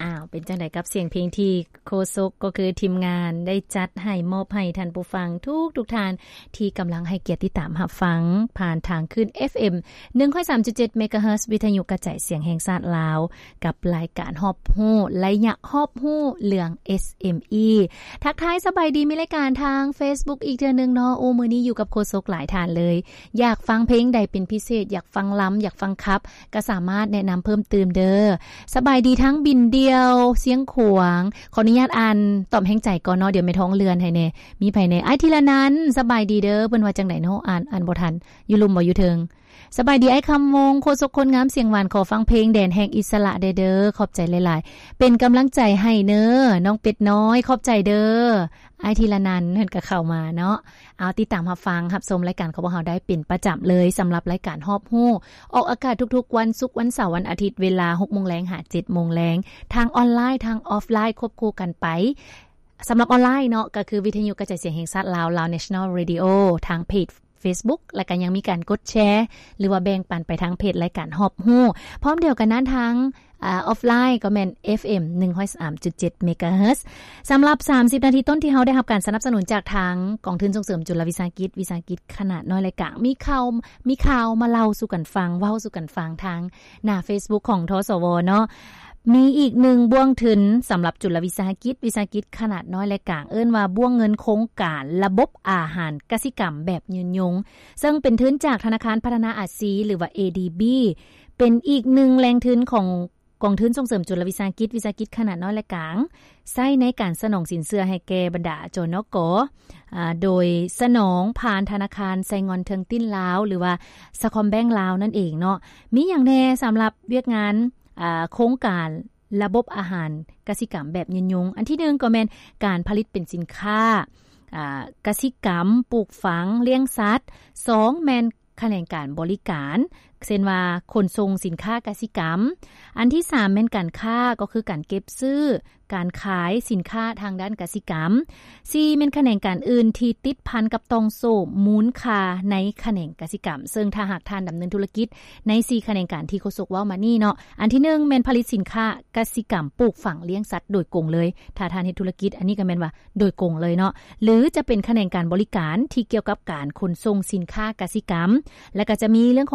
ອ້າວ ເປັນຈັ່ງໃດກັບສຽງເພງທີ່ໂຄສົກ ກໍຄືທີມງານໄດ້ຈັດໃຫ້ ມອບໃຫ້ທ່ານຜູ້ຟັງທຸກໆທ່ານ ທີ່ກຳລັງໃຫ້ກຽດຕິດຕາມຮັບຟັງ ຜ່ານທາງຄື້ນ ເອຟເອັມ ໜຶ່ງຮ້ອຍສາມຈຸດເຈັດ ເມກາເຮີດ ວິທະຍຸກະຈາຍສຽງແຫ່ງຊາດລາວ ກັບລາຍການຮອບຮູ້ ໄລຍະຮອບຮູ້ເລື່ອງ ເອສເອັມອີ ທັກທາຍສະບາຍດີ ມີລາຍການທາງເຟສບຸກອີກເທື່ອໜຶ່ງເນາະ. ໂອ້ ມື້ນີ້ຢູ່ກັບໂຄສົກຫຼາຍທ່ານເລີຍ. ຢາກຟັງເພງໃດເປັນພິເສດ, ຢາກຟັງລຳ, ຢາກຟັງຂັບ, ກໍສາມາດແນະນຳເພີ່ມຕື່ມເດີ. ສະບາຍດີທັງບິນດ່ຽວ, ຊຽງຂວາງ, ຂໍອະນຸຍາດອ່ານຕອບແຮງໃຈກ່ອນເນາະ, ດຽວແມ່ທ້ອງເລື່ອນໃຫ້ແດ່. ມີໃຜແດ່? ອ້າຍທີລະນັນ, ສະບາຍດີເດີ. ເພິ່ນວ່າຈັ່ງໃດເນາະ? ອ່ານ, ອ່ານບໍ່ທັນ. ຢູ່ລຸ່ມບໍ່? ຢູ່ເທິງ? ສະບາຍດີອ້າຍຄຳວົງ, ໂຄສົກຄົນງາມສຽງຫວານ, ຂໍຟັງເພງແດນແຫ່ງອິດສະຫຼະແດ່ເດີ. ຂອບໃຈຫຼາຍໆ. ເປັນກຳລັງໃຈໃຫ້ເນີ ນ້ອງເປັດນ້ອຍ. ຂອບໃຈເດີ. ອ້າຍທີລະນັນ ເພິ່ນກໍເຂົ້າມາເນາະ. ເອົາ ຕິດຕາມຮັບຟັງ ຮັບຊົມລາຍການຂອງພວກເຮົາໄດ້ເປັນປະຈຳເລີຍ ສຳລັບລາຍການຮອບຮູ້ ອອກອາກາດທຸກໆວັນສຸກ, ວັນເສົາ, ວັນອາທິດ ເວລາຫົກໂມງແລງຫາເຈັດໂມງແລງ ທາງອອນລາຍ, ທາງອອຟລາຍ ຄວບຄູ່ກັນໄປ. ສຳລັບອອນລາຍເນາະ ກໍຄືວິທະຍຸກະຈາຍສຽງແຫ່ງຊາດລາວ, Lao National Radio ທາງເພຈ ເຟສບຸກ ແລ້ວກໍຍັງມີການກົດແຊ ຫຼືວ່າແບ່ງປັນໄປທາງເພຈລາຍການຮອບຮູ້. ພ້ອມດຽວກັນນັ້ນ ທາງ ອາ ອອຟລາຍກໍແມ່ນ ເອຟເອັມ ໜຶ່ງຮ້ອຍສາມຈຸດເຈັດ ເມກາເຮີດ. ສຳລັບສາມສິບນາທີຕົ້ນທີ່ເຮົາໄດ້ຮັບການສະໜັບສະໜູນຈາກທາງກອງທຶນສົ່ງເສີມຈຸລະວິສາຫະກິດ, ວິສາຫະກິດຂະໜາດນ້ອຍ ແລະ ກາງ. ມີຂ່າວ, ມີຂ່າວມາເລົ່າສູ່ກັນຟັງ, ເວົ້າສູ່ກັນຟັງທາງໜ້າເຟສບຸກຂອງ ທສວ ເນາະ. ມີອີກໜຶ່ງບ່ວງທຶນສຳລັບຈຸລະວິສາຫະກິດ, ວິສາຫະກິດຂະໜາດນ້ອຍ ແລະ ກາງ, ເອີ້ນວ່າບ່ວງເງິນໂຄງການລະບົບອາຫານກະສິກຳແບບຍືນຍົງ, ເຊິ່ງເປັນທຶນຈາກທະນາຄານພັດທະນາອາຊີ ຫຼືວ່າ ເອດີບີ ເປັນອີກໜຶ່ງແຫຼ່ງທຶນຂອງກອງທຶນສົ່ງເສີມຈຸລະວິສາຫະກິດ, ວິສາຫະກິດຂະໜາດນ້ອຍ ແລະ ກາງ, ໃຊ້ໃນການສະໜອງສິນເຊື່ອໃຫ້ແກ່ບັນດາ ຈນກ, ອາ, ໂດຍສະໜອງຜ່ານທະນາຄານໄຊງອນເທີງຕິນລາວ ຫຼືວ່າ ສະຄອມແບັງລາວ ນັ້ນເອງເນາະ. ມີຫຍັງແດ່ສຳລັບວຽກງານ ອາ ໂຄງການລະບົບອາຫານກະສິກຳແບບຍືນຍົງ? ອັນທີໜຶ່ງກໍແມ່ນການຜະລິດເປັນສິນຄ້າ ອາ ກະສິກຳ, ປູກຝັງ, ລ້ຽງສັດ. ສອງ ແມ່ນຂະແໜງການບໍລິການ ເຊັ່ນວ່າ ຂົນສົ່ງສິນຄ້າກະສິກຳ. ອັນທີສາມ ແມ່ນການຄ້າ ກໍຄືການເກັບຊື້, ການຂາຍສິນຄ້າທາງດ້ານກະສິກຳ. ສີ່ ແມ່ນຂະແໜງການອື່ນທີ່ຕິດພັນກັບຕ່ອງໂສ້ມູນຄ່າໃນຂະແໜງກະສິກຳ, ເຊິ່ງຖ້າຫາກທ່ານດຳເນີນທຸລະກິດໃນສີ່ຂະແໜງການທີ່ໂຄສົກເວົ້າມານີ້ເນາະ, ອັນທີໜຶ່ງ ແມ່ນຜະລິດສິນຄ້າກະສິກຳ, ປູກຝັງ, ລ້ຽງສັດໂດຍກົງເລີຍ. ຖ້າທ່ານເຮັດທຸລະກິດ, ອັນນີ້ກໍແມ່ນວ່າໂດຍກົງເລີຍເນາະ, ຫຼືຈະເປັນຂະແໜງການບໍລິການທີ່ກ່ຽວກັບການຂົນສົ່ງສິນຄ້າກະສິກຳ, ແລະ ກໍຈະມີເລື່ອງຂອງ